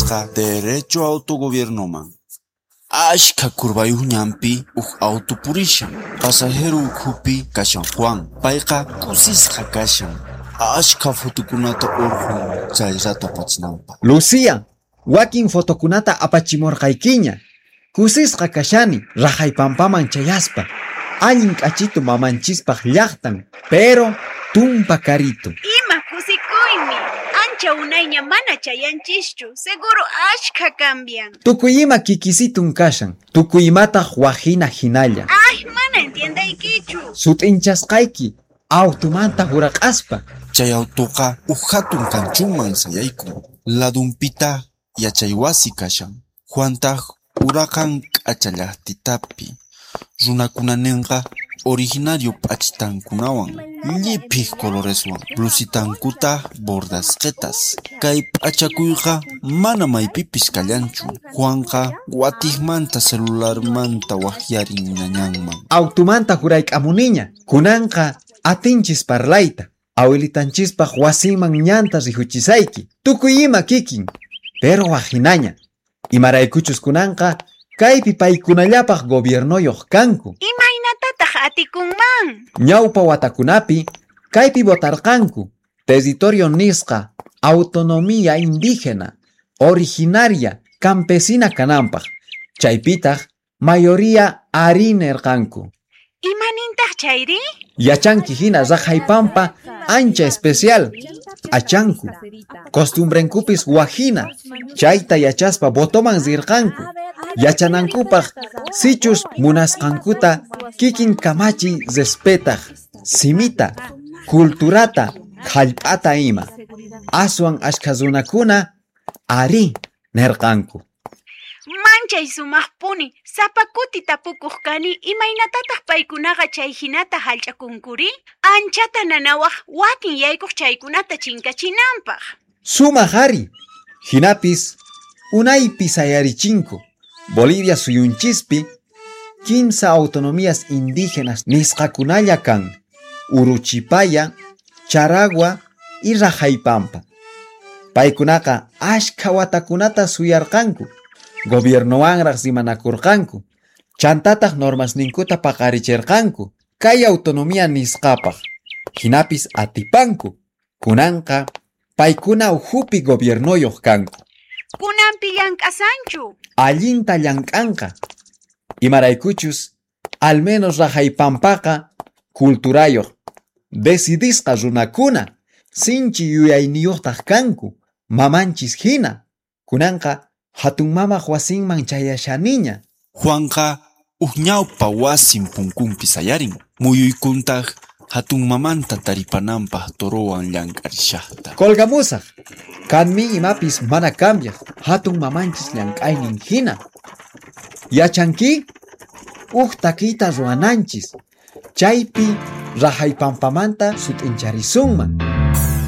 Juanqa derecho autogobiernoman. Ashka curvayuq ñanpi huk auto purishan. Pasajero ukhupi kashan Juan. Payqa kusisqa kashan. Ashka fotokunata urqun chay rato apachinanpaq. Lucía, wakin fotokunata apachimurqaykiña. Kusisqa kashani Raqaypampaman chayaspa. Allin k'achitu mamanchispaq llaqtan, pero tumpa karito. Ima kusikuymi. Ancha unayña mana chayanchischu. Seguro ashka cambian. Tukuy ima kikisitun kashan. Tukuy imataq wajina hinalla. Ay, mana entiendaykichu. Sut'inchasqayki autumanta huraq'aspa. Chay autoqa huk hatun kanchunman sayaykun. Ladunpitaq yachaywasi kashan. Juantaq uraqan k'acha llaqtitapi. Runakuna ninqa originario p'achitankunawan, lliphiq coloreswan, blusitankuta bordasqetas. Kay p'achakuyqa mana maypipis kallanchu. Juanqa watiqmanta celularmanta waqyarin ñañanman. Autumanta hurayk'amuniña. Kunanqa atinchis parlayta. Awilitanchispaq wasinman ñanta rihuchisayki. Tukuy ima kikin. Pero wajinaña. Imaraykuchus kunanqa kaypi paykunallapaq gobiernoyuq kanku. Imaynatataq atikunman? Ñawpa watakunapi kaypi votarqanku. Territorio nisqa, autonomía indígena, originaria, campesina kananpaq. Chaypitaq mayoría ari nirqanku. Imanintaq chayri? Yachanki hina Raqaypampa ancha especial. Achanku. Costumbrenkupis wajina. Chayta yachaspa votoman rirqanku. Yachanankupaq sichus munasqankuta kikin kamachi respetaq. Simita, culturata, hallp'ata ima. Aswan ashka runakuna ari nirqanku. Manchay sumaqpuni, sapa kuti tapukuq kani imaynatataq paykunaqa chay hinata hallch'akunkuri? Anchata nanawaq wakin yaykuq chaykunata chinkachinanpaq. Sumaq ari. Hinapis unaypi sayarichinku. Bolivia suyunchispi kimsa autonomías indígenas nisqakunalla kan. Uruchipaya, Charagua y Raqaypampa. Paykunaqa ashka watakunata suyarqanku. Gobiernowanraq rimanakurqanku. Chantataq normasninkuta paqarichirqanku. Kay autonomía nisqapaq. Hinapis atipanku. Kunanqa paykuna ukhupi gobiernoyuq kanku. Kunanpi llank'asanchu. Allinta llank'anqa. Imaraykuchus al menos Raqaypampaqa culturayuq. Decidisqa runakuna sinchi yuyayniyuqtaq kanku. Mamanchis hina. Kunanqa hatun mamaq wasinman chayashaniña. Juanqa huk ñawpa wasin punkunpi sayarin. Muyuykuntaq hatun mamanta taripananpaq torowan llank'arishaqta. Colgamusaq. Kanmi imapis mana cambiaq. Hatun mamanchis llank'aynin hina. Yachanki? Huk takiyta ruwananchis. Chaypi Raqaypampamanta sut'incharisunman.